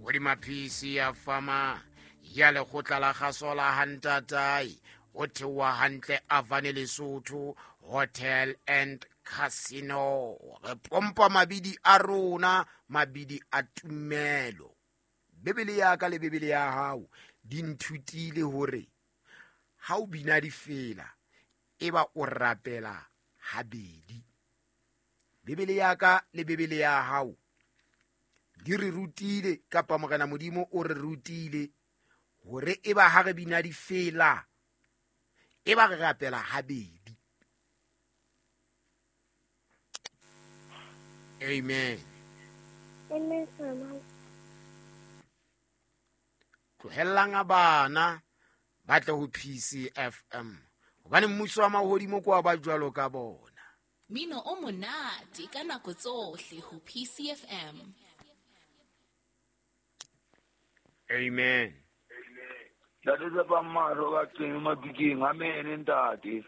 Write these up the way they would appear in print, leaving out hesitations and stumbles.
Hodima PC ya fama ya lekgotla la kgaso la hantatae o theoha hantle Avane Lesotho Hotel and Casino. Re pompa mabidi a rona, mabidi a tumelo. Bibele ya ka le Bibele ya hao di nthutile hore ha o bina difela e ba o rapela habedi. Bibele ya ka le Bibele ya hao di re rutile, kapa Morena Modimo o re rutile hore e ba ha re bina difela e ba re rapela habedi. Amen. Amen. Tlohellang bana ba tle ho PCFM hobane mmuso wa mahodimo ke wa ba jwalo ka bona. Mino o monate ka nako tsohle ho PCFM. Amen. Ntate Tsepang mahlo ka qeng mabikeng. Amen ntate.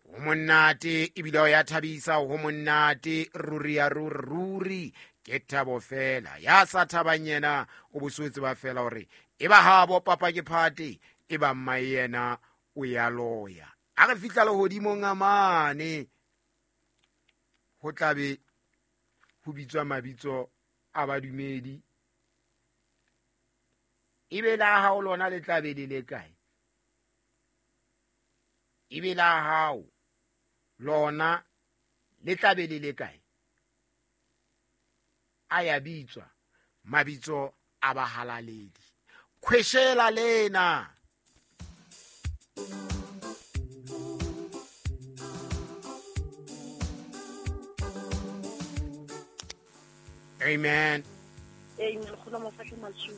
Ho monate ebile o ya thabisa, ho monate ruri ya ruri ruri ke thabo fela. Ya sa thabang yena o boswetse ba fela hore e ba habo papa ke phate, e ba mma yena o ya loya. A re fihla lehodimong a mane ho tlabe ho bitswa mabitso a badumedi, ebe la hao lona le tlabe le le kae? Ebe la hao lona le tlabe le le kae? A ya bitswa mabitso a bahalaledi. Khweshela lena. Amen. Amen. Kgona mafahla matsu.